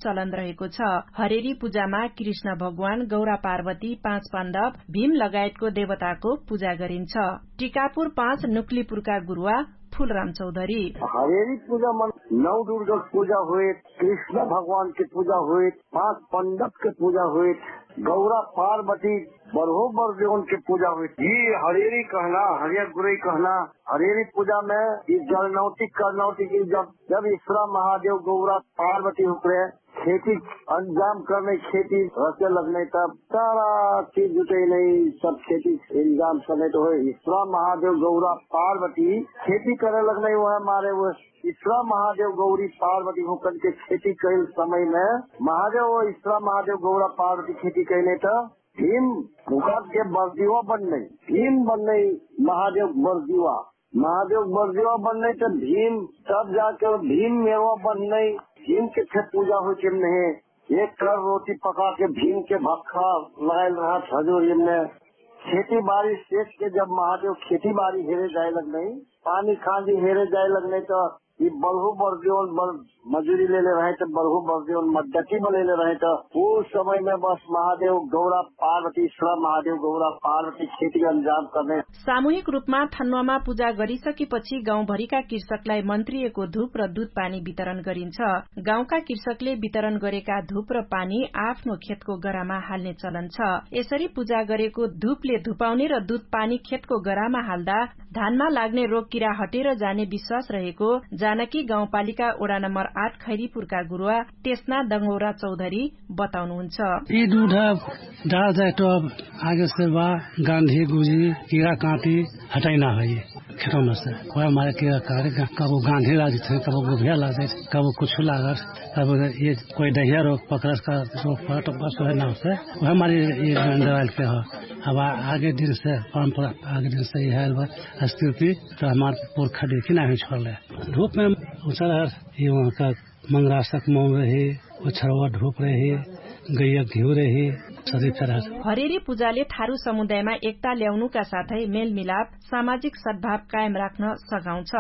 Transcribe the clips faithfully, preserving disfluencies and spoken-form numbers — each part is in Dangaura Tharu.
चलन रहेको छ। हरेरी पुजामा कृष्ण भगवान गौरा पार्वती पाँच पाण्डव भीम लगायतको देवताको पुजा गरिन्छ। टिकापुर पाँच नुक्लिपुरका गुरुवा फुलराम चौधरी। हरेरी पुजामा नौ दुर्गक पुजा होइत, कृष्ण भगवानके पुजा होइत, पाँच पण्डवके पुजा होइत, गौरा पार्वती बर्हो बर्देवनके पुजा होइत। यि हरेरी कहना हरिया गुरै कहना हरेरी पुजामे यि जलनौतिक करनौतिक जब जब इस्रा महादेव गौरा पार्वती हुक्रे खेती अन्जाम कर्नै खेती रस्या लग्नै तब तारा चिज जुटैनै सब खेती इन्जाम कर्नै त होइ। इस्रा महादेव गौरा पार्वती खेती करै लग्नै उहै मारे उहै इस्रा महादेव गौरी पार्वती हुक्रे खेती कैल समयमे महादेव इस्रा महादेव गौरा पार्वती खेती कैनै त भीम भुकाके बर्दिवा बन्नै भीम बन्नै महादेव बर्दिवा महादेव बर्दिवा बन्नै त भीम तब जाके भीम मेवा बन्नै भीमके फेर पुजा होइ चिम नहे एक कर रोटी पकाके भीमके भक्खा लगाइल रहत हजुर यमने। खेती बारी सेचके जब महादेव खेती बारी हेरे जाइलक नै पानी खाँजी हेरे जाइलक नै त यि बल्हु बर्दिवन बल मजुरी लेले रहै त बल्हु बर्दिवन मद्दती बलेले रहै त उ समयमे बस महादेव गौरा पार्वती इस्रा महादेव गौरा पार्वती खेती अन्जाम कर्नै। सामूहिक रूपमा थन्वामा पुजा गरिसकेपछि गाउँभरिका कृषकलाई मन्त्रिएको धुप र दुध पानी वितरण गरिन्छ। गाउँका कृषकले वितरण गरेका धुप र पानी आफ्नो खेतको गरामा हाल्ने चलन छ। यसरी पुजा गरेको धुपले धुपाउने र दुध पानी खेतको गरामा हाल्दा धानमा लाग्ने रोगकिरा हटेर जाने विश्वास रहेको जानकी गाउँपालिका ओडा नम्बर आठ खैरीपुरका गुरुवा टेस्ना दङ्गौरा चौधरी बताउनुहुन्छ। यि दुध डाल जाए त आगे से बा गाँधी गुजी किरा काँटी हटैना है। खेतौना से कोइ हमारे किरा काँटी कबो गाँधी लाग जैत है कबो गुभिया लाग जैत कबो कुछु लागत। कबो यि कोइ दहिया रोग पकरत का रोग पकरत बस वहे नाउ से वहे हमारे यि दवाइल के हो। अब आगे दिन से परम्परा आगे दिन से यि है बा स्थिति त हमार पुर्खा देखि नाहि छोडले। धुपमे उचरहर यि उहाँका मङ्गरासक मौन रहे ओछरवा धुप रहे गैया घिउ रहे सरी फेरहर। हरेरी पुजाले थारु समुदायमा एकता ल्याउनुका साथै मेलमिलाप सामाजिक सद्भाव कायम राख्न सघाउँछ।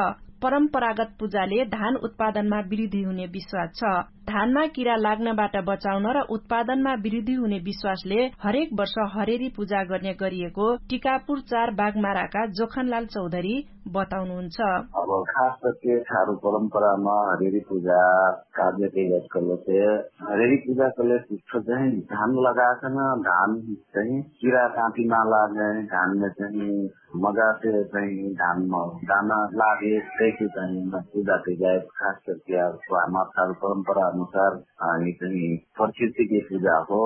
परम्परागत पुजाले धान उत्पादनमा वृद्धि हुने विश्वास छ। धानमा किरा लाग्नबाट बचाउन र उत्पादनमा वृद्धि हुने विश्वासले हरेक वर्ष हरेरी पुजा गर्ने गरिएको टिकापुर चार बागमाराका जोखनलाल चौधरी बताउनुहुन्छ। अब खास करके थारु परम्परामा हरेरी पुजा काव्य कैलक कलसे हरेरी पुजा कलसे कुछ चाहिँ धान लगाकन धान चाहिँ किरा काँटी ना लागे धानमे चाहिँ मजासे चाहिँ धानमा दाना लागे कैसे चाहिँ पुजा कैजाए। खास करके अब हमार थारु परम्परा अनुसार यि चाहिँ प्रकृतिके पुजा हो।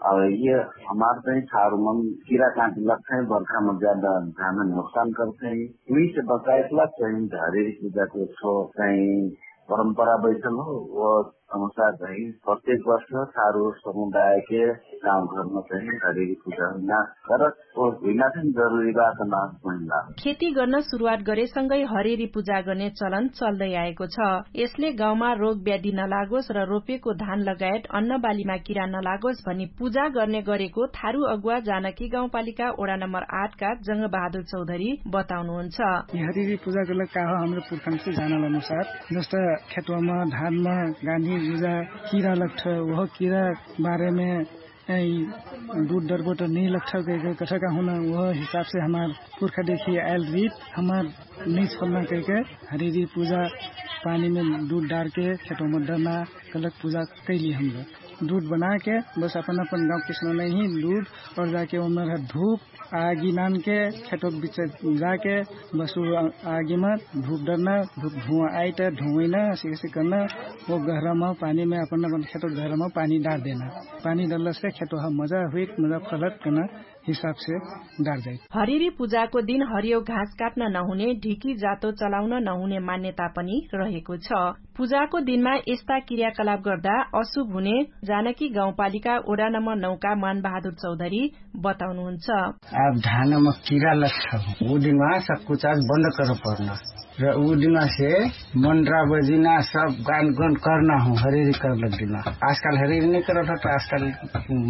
अब यि हमार चाहिँ थारु मन किरा काँटी लग्छै बर्खामा ज्यादा धान नोक्सान कर्छै। उही से बचाएक लग्छै हरेरी पुजाके छो चाहिँ परम्परा बैठल हो। अनुसार चाहिँ प्रत्येक वर्ष थारु समुदायके गाउँघरमा चाहिँ हरेरी पुजा हुइना करत ओ हुइना चाहिँ जरुरी बात ना। हुइना खेती गर्न सुरुवात गरेसँगै हरेरी पुजा गर्ने चलन चल्दै आएको छ। यसले गाउँमा रोग व्याधि नलागोस र रोपेको धान लगायत अन्नबालीमा किरा नलागोस भनी पुजा गर्ने गरेको थारु अगुवा जानकी गाउँपालिका ओडा नम्बर आठ का जङ्गबहादुर चौधरी बताउनुहुन्छ। यि हरेरी पुजा गर्लक का हो हमरे पुर्खनसे जानल अनुसार जस्ता खेतवामा धानमा गाँधी जुजा किरा लग्ठ ओह किरा बारेमे दुध डरबोट निलक ठगैके कठका हुना उह हिसाबसे हमार पुर्खा देखि आइल रित हमार निछोल्ना कैके हरिरी पुजा पानीमे दुध डारके खेतोम डरना कलक पुजा कैली हमरो। दुध बनाके बस अपन अपन गाउँ किसना नैही दुध और जाके ओमर धुप आगी नानके खेतोक बिच जाके बस उ आगीमा धुप डरना धुप धुवा आइत धुवैना सिकसिक कर्ना ओ गहरामा पानीमे अपन अपन खेतोक गहरामा पानी डार देना। पानी डरलसे खेतोहा मजा हुइक मजा फलत कर्ना हिसाबसे डार जाइत। हरिरी पुजाको दिन हरियो घाँस काट्न नहुने ढिकी जातो चलाउन नहुने मान्यता पनि रहेको छ। पुजाको दिनमा यस्ता क्रियाकलाप गर्दा अशुभ हुने जानकी गाउँपालिका ओडा नम्बर नौका मानबहादुर चौधरी बताउनुहुन्छ। आब धानमा किरा लग्छ उ दिनमा सक्कुचास बन्द कर पर्न र उ दिनमा से मन्ड्रा बजिना सब गान गन कर्ना हौ हरिरी कर्लक दिनमा। आजकाल हरिरी नै करत हौ त आजकाल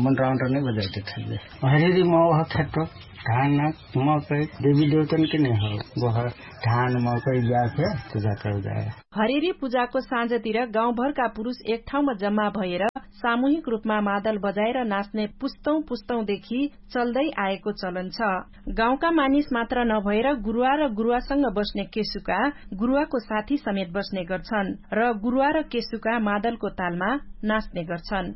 मन्ड्रा मन्ड्रा नै बजाइते थैले हरिरी मौह खेतो धान मकै देवी देवतन के नै हौ। बह धान मकै ब्याखे पुजा कर जाए। हरिरी पुजाको साँझतिर गाउँभरका पुरुष एक ठाउँमा जम्मा भएर सामूहिक रूपमा मादल बजाएर नाच्ने पुस्तौं पुस्तौं देखि चल्दै आएको चलन छ। गाउँका मानिस मात्र नभएर गुरुवा र गुरुवासँग बस्ने केसुका, गुरुवाको साथी समेत बस्ने गर्छन् र गुरुवा र केसुका मादलको तालमा नाच्ने गर्छन्।